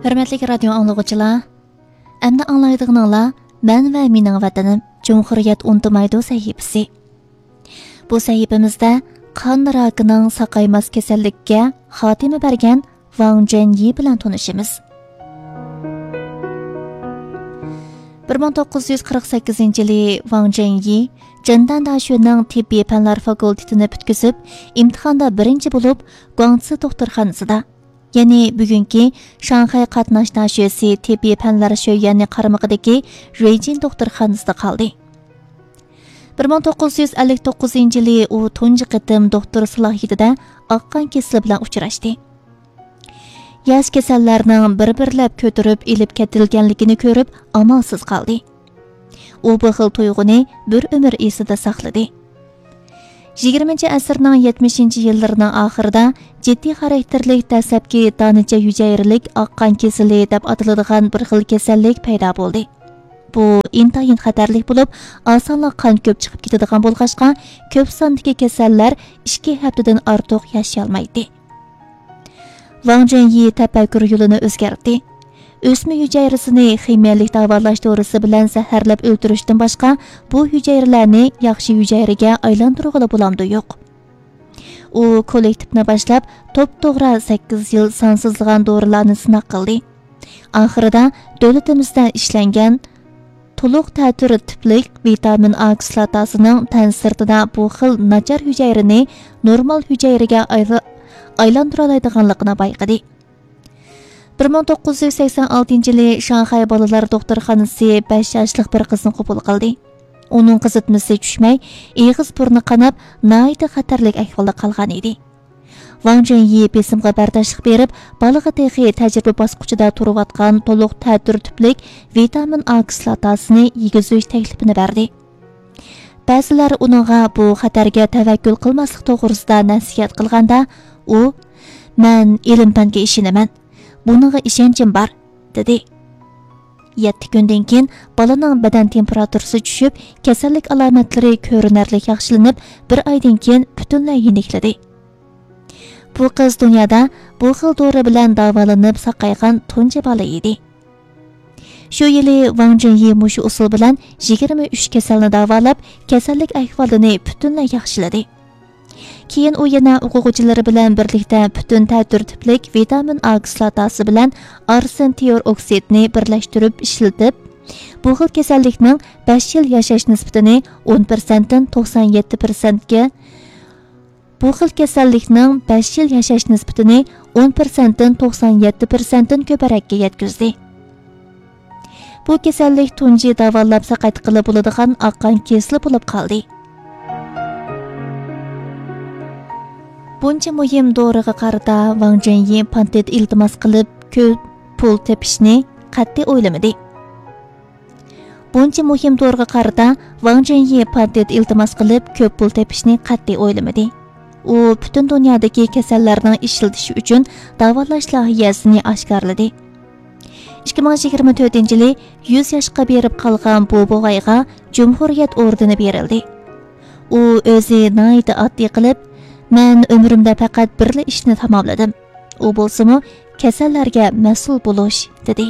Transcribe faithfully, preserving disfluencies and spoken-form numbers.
ھۆرمەتلىك رادىيو ئاڭلىغۇچىلار، ئەمدى ئاڭلايدىغىنىڭلار مەن ۋە مېنىڭ ۋەتىنىم جۇمھۇرىيەت ئۇنتۇمايدۇ سەھىپىسى. بۇ سەھىپىمىزدە قان راكىنىڭ ساقايماس كېسەللىككە خاتىمە بەرگەن ۋاڭ جۈەنيى بىلەن تونۇشىمىز. بىر مىڭ توققۇز يۈز قىرىق سەككىزىنچى يىلى ۋاڭ جۈەنيى جېندەن داشۆنىڭ تېببىي پەنلەر فاكۇلتېتىنى پۈتكۈزۈپ، ئىمتىھاندا بىرىنچى بولۇپ، گۇاڭسى دوختۇرخانىسىدا، يەنى بۈگۈنكى شاڭخەي قاتناش داشۆسى تېببىي پەنلەر شۆيۈەنى قارمىقىدىكى رېيجىن دوختۇرخانىسىدا قالدى. بىر مىڭ توققۇز يۈز ئەللىك توققۇزىنچى يىلى ئۇ تۇنجى قېتىم دوختۇر سالاھىيىتىدە ئاق قان كېسىلى بىلەن ئۇچراشتى. ياش كېسەللەرنىڭ بىر-بىرلەپ كۆتۈرۈپ ئېلىپ كېتىلگەنلىكىنى كۆرۈپ، ئامالسىز قالدى. ئۇ بۇ خىل تۇيغۇنى بىر ئۆمۈر ئېسىدە ساقلىدى. يىگىرمىنچى ئەسىرنىڭ يەتمىشىنچى يىللىرىنىڭ ئاخىرىدا جىددىي خاراكتېرلىك دەسلەپكى دانىچە ھۈجەيرىلىك ئاق قان كېسىلى دەپ ئاتىلىدىغان بىر خىل كېسەللىك پەيدا بولدى. بۇ ئىنتايىن خەتەرلىك بولۇپ، ئاسانلا قان كۆپ چىقىپ كېتىدىغان بولغاچقا، كۆپ ساندىكى كېسەللەر ئىككى ھەپتىدىن ئارتۇق ياشىيالمايتتى. ۋاڭ جۈەنيى تەپەككۇر يولىنى ئۆزگەرتتى. ئۆسمە ھۈجەيرىسىنى خىمىيەلىك داۋالاش دورىسى بىلەن زەھەرلەپ ئۆلتۈرۈشتىن باشقا، بۇ ھۈجەيرىلەرنى ياخشى ھۈجەيرىگە ئايلاندۇرغىلى بولامدۇ يوق؟ ئۇ كوللېكتىپنى باشلاپ، توپتوغرا سەككىز يىل سانسىزلىغان دورىلارنى سىناق قىلدى. ئاخىرىدا دۆلىتىمىزدە ئىشلەنگەن تولۇق تەتۈر تىپلىك ۋىتامىن ئا كىسلاتاسىنىڭ تەن سىرتىدا بۇ خىل ناچار ھۈجەيرىنى نورمال ھۈجەيرىگە ئايلا-، ئايلاندۇرالايدىغانلىقىنى بايقىدى. بىر مىڭ توققۇز يۈز سەكسەن ئالتىنچى يىلى شاڭخەي بالىلار دوختۇرخانىسى بەش ياشلىق بىر قىزنى قوبۇل قىلدى. ئۇنىڭ قىزىتمىسى چۈشمەي، ئېغىز بۇرنى قاناپ، ناھايىتى خەتەرلىك ئەھۋالدا قالغان ئىدى. ۋاڭ جۈەنيى بېسىمغا بەرداشلىق بېرىپ، بالىغا تېخى تەجرىبە باسقۇچىدا تۇرۇۋاتقان تولۇق تەتۈر تۈپلۈك ۋىتامىن ئا كىسلاتاسىنى يېگۈزۈش تەكلىپىنى بەردى. بەزىلەر ئۇنىڭغا بۇ خەتەرگە تەۋەككۈل قىلماسلىق توغرىسىدا نەسىھەت قىلغاندا، ئۇ، «مەن ئىلىم-پەنگە ئىشىنىمەن، بۇنىڭغا ئىشەنچىم بار» دېدى. يەتتە كۈندىن كېيىن بالىنىڭ بەدەن تېمپېراتۇرىسى چۈشۈپ، كېسەللىك ئالامەتلىرى كۆرۈنەرلىك ياخشىلىنىپ، بىر ئايدىن كېيىن پۈتۈنلەي يېنىكلىدى. بۇ قىز دۇنيادا بۇ خىل دورا بىلەن داۋالىنىپ ساقايغان تۇنجى بالا ئىدى. شۇ يىلى ۋاڭ جۈەنيى مۇشۇ ئۇسۇل بىلەن يىگىرمە ئۈچ كېسەلنى داۋالاپ، كېسەللىك ئەھۋالىنى پۈتۈنلەي ياخشىلىدى. كېيىن ئۇ يەنە ئوقۇغۇچىلىرى بىلەن بىرلىكتە پۈتۈن تەتۈر تىپلىك ۋىتامىن ئا كىسلاتاسى بىلەن ئارسېن تىئور ئوكسىدنى بىرلەشتۈرۈپ ئىشلىتىپ، بۇ خىل كېسەللىكنىڭ بەش يىل ياشاش نىسبىتىنى ئون پىرسەنتتىن توقسان يەتتە پىرسەنتكە، بۇ خىل كېسەللىكنىڭ بەش يىل ياشاش نىسبىتىنى ئون پىرسەنتتىن توقسان يەتتە پىرسەنتتىن كۆپرەككە يەتكۈزدى. بۇ كېسەللىك تۇنجى داۋالاپ ساقايتقىلى بولىدىغان ئاق قان كېسىلى بولۇپ قالدى. بۇنچە مۇھىم دورىغا قارىتا ۋاڭ جۈەنيى پاتېنت ئىلتىماس قىلىپ، كۆپ پۇل تېپىشنى قەتئىي ئويلىمىدى. بۇنچە مۇھىم دورىغا قارىتا ۋاڭ جۈەنيى پاتېنت ئىلتىماس قىلىپ، كۆپ پۇل تېپىشنى قەتئىي ئويلىمىدى. ئۇ پۈتۈن دۇنيادىكى كېسەللەرنىڭ ئىشلىتىشى ئۈچۈن داۋالاش لايىھەسىنى ئاشكارىلىدى. ئىككى مىڭ يىگىرمە تۆتىنچى يىلى يۈز ياشقا بېرىپ قالغان بۇ بوۋايغا جۇمھۇرىيەت ئوردېنى بېرىلدى. ئۇ ئۆزى ناھايىتى ئاددىي قىلىپ، «مەن ئۆمرۈمدە پەقەت بىرلا ئىشنى تاماملىدىم. ئۇ بولسىمۇ كېسەللەرگە مەسئۇل بولۇش» دېدى.